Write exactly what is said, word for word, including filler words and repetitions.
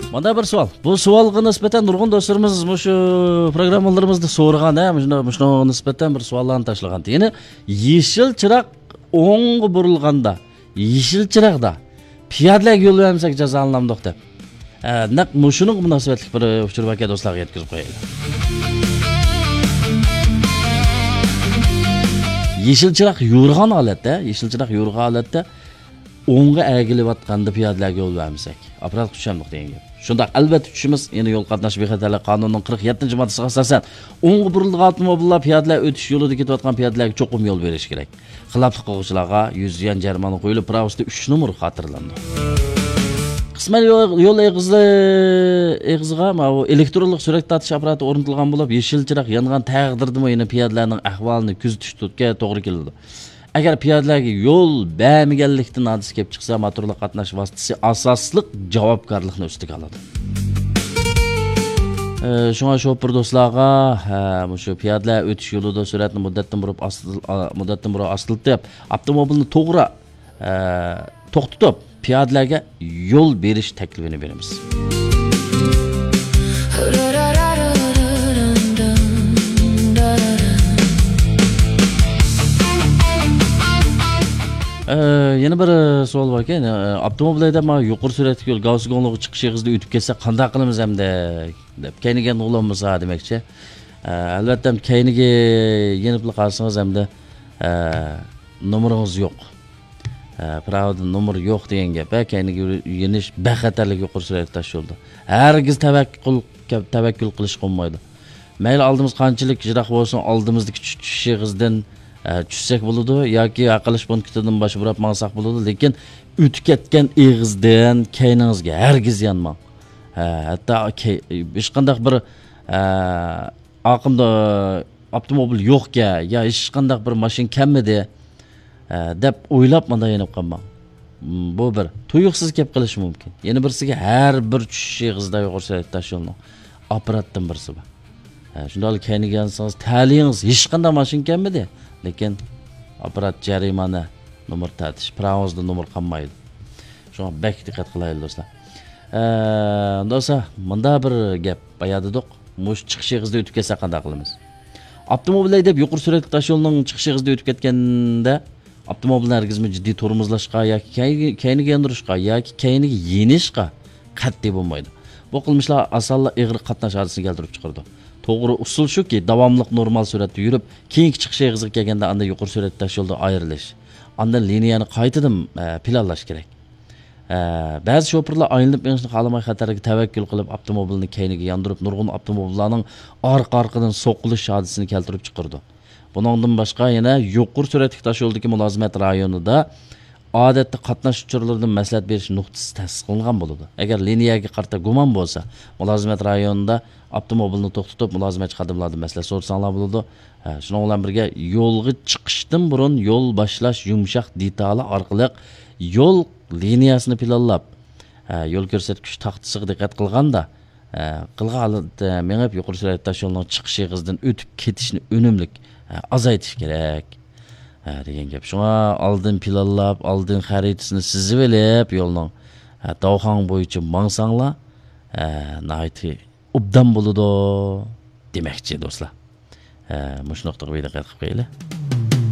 مانا بىر سوئال. بۇ سوئالغا نىسبەتەن نۇرغۇن دوستلىرىمىز مۇشۇ پروگراممىلىرىمىزدا سورىغان، ھە، مۇشۇنىڭ، مۇشۇنىڭغا نىسبەتەن بىر سوئاللارنى تاشلىغان. يەنى يېشىل چىراغ ئوڭغا بۇرۇلغاندا، يېشىل چىراغدا پىيادىلەرگە يول بەرمىسەك جازالىنامدۇق دەپ. ھە، نەق مۇشۇنىڭغا مۇناسىۋەتلىك بىر ئۇچۇر باركەن، دوستلارغا يەتكۈزۈپ قويايلى. يېشىل چىراغ يورۇغان ھالەتتە، يېشىل چىراغ يورۇغان ھالەتتە ئوڭغا ئەگىلىۋاتقاندا پىيادىلەرگە يول بەرمىسەك، ئاپپاراتقا چۈشەمدۇق دېگەن گەپ. شۇنداق، ئەلۋەتتە چۈشىمىز. يەنە يول قاتناش بىخەتەرلىك قانۇنىنىڭ قىرىق يەتتىنچى ماددىسىغا ئاساسەن، ئوڭغا بۇرۇلىدىغان ئاپتوموبىللار پىيادىلەر ئۆتۈش يولىدا كېتىۋاتقان پىيادىلەرگە چوقۇم يول بېرىشى كېرەك. خىلاپلىق قىلغۇچىلارغا يۈز يۈەن جەرىمانە قويۇلۇپ، پىراۋىسىدا ئۈچ نومۇر خاتىرىلىنىدۇ. قىسمەن يول، يول ئېغىزى، ئېغىزىغا ماۋۇ ئېلېكترونلۇق سۈرەت تارتىش ئاپپاراتى ئورنىتىلغان بولۇپ، يېشىل چىراغ يانغان تەقدىردىمۇ يەنە پىيادىلەرنىڭ ئەھۋالىنى كۆزىتىشكە توغرا كېلىدۇ. ئەگەر پىيادىلەرگە يول بەرمىگەنلىكتىن ھادىسە كېلىپ چىقسا، موتورلۇق قاتناش ۋاسىتىسى ئاساسلىق جاۋابكارلىقنى ئۈستىگە ئالىدۇ. ئە، شۇڭا شوپۇر دوستلارغا، ئە، مۇشۇ پىيادىلەر ئۆتۈش يولىدا سۈرئەتنى مۇددەتتىن بۇرۇن ئاستىل-، ئا، مۇددەتتىن بۇرۇن ئاستىلىتىپ، ئاپتوموبىلنى توغرا، ئە، توختىتىپ، پىيادىلەرگە يول بېرىش تەكلىپىنى بېرىمىز. ئە، يەنە بىر سوئال باركەن. ئە، ئاپتوموبىل ھەيدەپ، مانا يۇقىرى سۈرئەتلىك يول گاۋسىگوڭلۇقى چىقىش ئېغىزىدا ئۆتۈپ كەتسە قانداق قىلىمىز ئەمدى؟ دەپ، كەينىگە يانغىلى بولمىسا دېمەكچى. ئە، ئەلۋەتتە، كەينىگە يېنىپلا قالسىڭىز ئەمدى، ئە، نومۇرىڭىز يوق. ئە، پىراۋىدا نومۇر يوق دېگەن گەپ. ئە، كەينىگە يېنىش بەخەتەرلىك يۇقىرى سۈرئەتلىك تاش يولدا. ھەرگىز تەۋەككۈل، تەۋەككۈل قىلىشقا بولمايدۇ. مەيلى ئالدىمىز قانچىلىك يىراق بولسۇن، ئالدىمىزدىكى چۈ-، چۈشۈش ئېغىزىدىن، ئە، چۈشسەك بولىدۇ ياكى ھەل قىلىش پونكىتىدىن باش بۇراپ ماڭساق بولىدۇ، لېكىن ئۆتۈپ كەتكەن ئېغىزدىن كەينىڭىزگە ھەرگىز يانماڭ. ئە، ھەتتا كەي-، ھېچقانداق بىر، ئە، ئارقامدا ئاپتوموبىل يوقكەن يا ھېچقانداق بىر ماشىنا كەلمىدى، ئە، دەپ ئويلاپ مانا يېنىپ قالماڭ. م، بۇ بىر. تۇيۇقسىز كەپ قېلىشى مۇمكىن. يەنە بىرسىگە، ھەر بىر چۈشۈش ئېغىزىدا يۇقىرى سۈرئەتلىك تاش يولنىڭ ئاپپاراتتىن بىرسى بار. ئە، شۇنداقلا كەينىگە يانسىڭىز، تەلىيىڭىز ھېچقانداق ماشىنا كەلمىدى. لېكىن ئاپپارات جەرىمانە نومۇر تارتىش، پىراۋىڭىزدا نومۇر قالمايدۇ. شۇڭا بەك دىققەت قىلايلى، دوستلار. ئە، ئۇنداق بولسا، مۇنداق بىر گەپ بايا دېدۇق. مۇشۇ چىقىش ئېغىزىدا ئۆتۈپ كەتسە قانداق قىلىمىز؟ ئاپتوموبىل ھەيدەپ يۇقىرى سۈرئەتلىك تاش يولنىڭ چىقىش ئېغىزىدا ئۆتۈپ كەتكەندە، ئاپتوموبىلنى ھەرگىزمۇ جىددىي تورمۇزلاشقا ياكى كەينىگە، كەينىگە ياندۇرۇشقا ياكى كەينىگە يېنىشقا قەتئىي بولمايدۇ. بۇ قىلمىشلار ئاسانلا ئېغىر قاتناش ھادىسىسىنى كەلتۈرۈپ چىقىرىدۇ. توغرا ئۇسۇل شۇكى، داۋاملىق نورمال سۈرئەتتە يۈرۈپ، كېيىنكى چىقىش ئېغىزىغا كەلگەندە ئاندىن يۇقىرى سۈرئەتلىك تاش يولدا ئايرىلىش. ئاندىن لىنىيەنى قايتىدىن، ئە، پىلانلاش كېرەك. ئە، بەزى شوپۇرلار ئايلىنىپ مېڭىشنى خالىماي خەتەرگە تەۋەككۈل قىلىپ، ئاپتوموبىلنى كەينىگە ياندۇرۇپ، نۇرغۇن ئاپتوموبىللارنىڭ ئارقا-ئارقىدىن سوقۇلۇش ھادىسىسىنى كەلتۈرۈپ چىقىرىدۇ. بۇنىڭدىن باشقا، يەنە يۇقىرى سۈرئەتلىك تاش يولدىكى مۇلازىمەت رايونىدا ئادەتتە قاتناش ئۇچۇرلىرىدىن مەسلىھەت بېرىش نۇقتىسى تەسىس قىلىنغان بولىدۇ. ئەگەر لىنىيەگە قارىتا گۇمان بولسا، مۇلازىمەت رايونىدا ئاپتوموبىلنى توختىتىپ، مۇلازىمەتچى خادىملاردىن مەسلىھەت سورىساڭلار بولىدۇ. ھە، شۇنىڭ بىلەن بىرگە، يولغا چىقىشتىن بۇرۇن يول باشلاش يۇمشاق دېتالى ئارقىلىق يول لىنىيەسىنى پىلانلاپ، ھە، يول كۆرسەتكۈچ تاختىسىغا دىققەت قىلغاندا، ھە، قىلغان ھالەتتە مېڭىپ، يۇقىرى سۈرئەتلىك تاش يولىنىڭ چىقىش ئېغىزىدىن ئۆتۈپ كېتىشنى ئۈنۈملۈك، ھە، ئازايتىش كېرەك، ھە، دېگەن گەپ. شۇڭا ئالدىن پىلانلاپ، ئالدىن خەرىتىسىنى سىزىۋېلىپ، يولنىڭ، ھە، داۋخاڭ بويىچە ماڭساڭلار، ھە، ناھايىتى ئوبدان بولىدۇ دېمەكچى، دوستلار. ھە، مۇشۇ نۇقتىغا بىر دىققەت قىلىپ قويايلى.